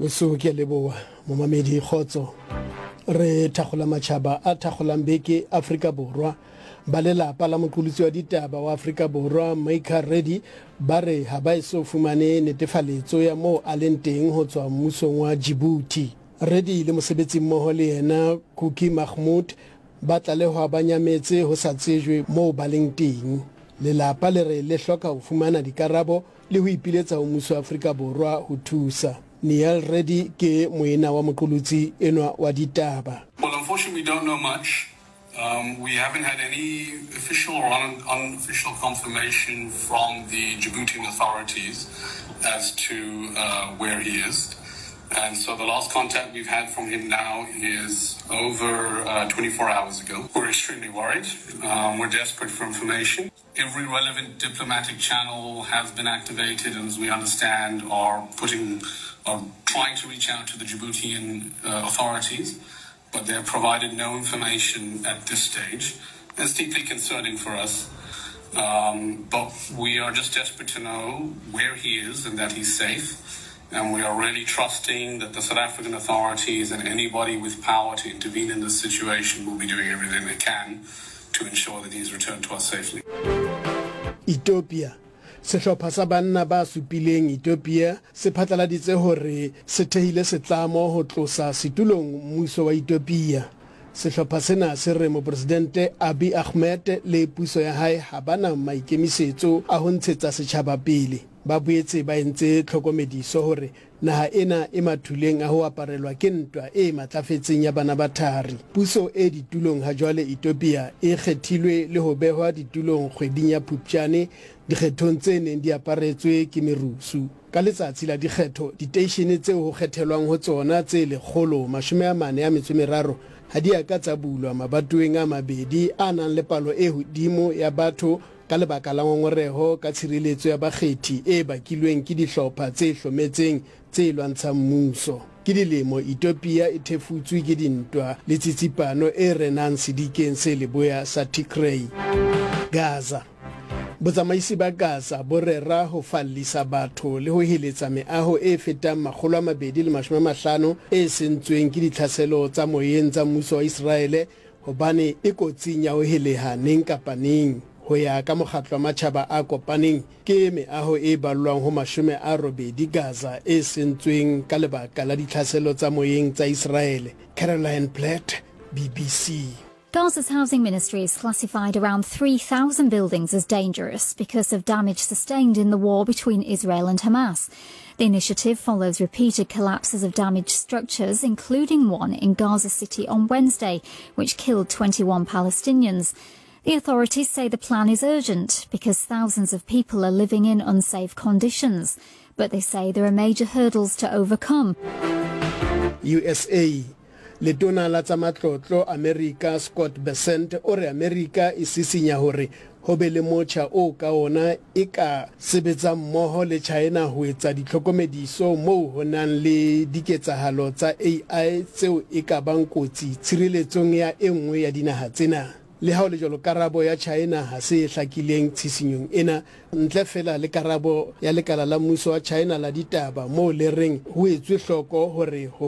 Weso ke a leboha momamedi kgotso. Re thakgola matšhaba a thakgolang beke Afrika Borwa. Ba lelapa la moqolotsi wa ditaba wa Afrika Borwa Micah Reddy ba re ha ba eso fumane netefaletso ya moo a leng teng ho tswa mmusong wa Djibouti. Reddy le mosebetsimmoho le yena Cookie Mahmoud ba tlalehwa ba nyametse ho sa tsejwe moo ba leng teng. Lelapa le re le hloka ho fumana dikarabo le ho ipiletsa ho mmuso wa Afrika Borwa ho thusa. Niel Reddy ke moena wa moqolotsi enwa wa ditaba. Well, unfortunately, we don't know much. Um, we haven't had any official or un unofficial confirmation from the Djiboutian authorities as to uh, where he is. And so the last contact we've had from him now is over uh, 24 hours ago. We're extremely worried. Um, we're desperate for information. Every relevant diplomatic channel has been activated, and as we understand, are putting, are trying to reach out to the Djiboutian uh, authorities, but they have provided no information at this stage. It's deeply concerning for us. Um, but we are just desperate to know where he is and that he's safe. And we are really trusting that the South African authorities and anybody with power to intervene in this situation will be doing everything they can to ensure that he's returned to us safely. Ethiopia. Sehlopha sa banna ba supileng Ethiopia se phatlaladitse hore se thehile setlamo ho tlosa setulong mmuso wa Ethiopia. Sehlopha sena se re Mopresidente Abiy Ahmed le puso ya hae ha ba na maikemisetso a ho ntshetsa setjhaba pele. Ba boetse ba entse tlhokomediso hore naha ena e mathuleng a ho aparelwa ke ntwa e matlafetseng ya bana ba thari. Puso e ditulong hajwale Ethiopia e kgethilwe le ho behwa ditulong kgweding ya Phupjane dikgethong tse neng di aparetswe ke merusu. Ka letsatsi la dikgetho, diteishene tseo ho kgethelwang ho tsona tse 143 ha di a ka tsa bulwa mabatoweng a mabedi a nang le palo e hodimo ya batho ka lebaka la ngongoreho ka tshireletso ya bakgethi e bakilweng ke dihlopha tse hlometseng tse lwantshang mmuso. Ke dilemo Ethiopia e thefutswe ke dintwa le tsitsipano e renang sedikeng se leboya sa Tigray. Gaza. Botsamaisi ba Gaza bo rera ho fallisa batho le ho heletsa meaho e fetang 250 e sentsweng ke ditlhaselo tsa moyeng tsa mmuso wa Iseraele hobane e kotsing ya ho heleha neng kapa neng. Ho ya ka Mokgatlo wa Matjhaba a Kopaneng, ke meaho e ballwang ho 80 Gaza e sentsweng ka lebaka la ditlhaselo tsa moyeng tsa Iseraele. Caroline Platt, BBC. Gaza's housing ministry has classified around 3,000 buildings as dangerous because of damage sustained in the war between Israel and Hamas. The initiative follows repeated collapses of damaged structures, including one in Gaza City on Wednesday, which killed 21 Palestinians. The authorities say the plan is urgent because thousands of people are living in unsafe conditions. But they say there are major hurdles to overcome. USA. Letona la tsa Matlotlo Amerika Scott Bessent o re Amerika e sisinya hore ho be le motjha oo ka ona e ka sebetsang mmoho le China ho etsa ditlhokomediso moo ho nang le diketsahalo tsa AI tseo e ka bang kotsi tshireletsong ya e nngwe ya dinaha tsena. Le ha ho le jwalo, karabo ya China ha se e hlakileng tshisinyong ena, ntle feela le karabo ya lekala la mmuso wa China la ditaba moo le reng ho etswe hloko hore ho.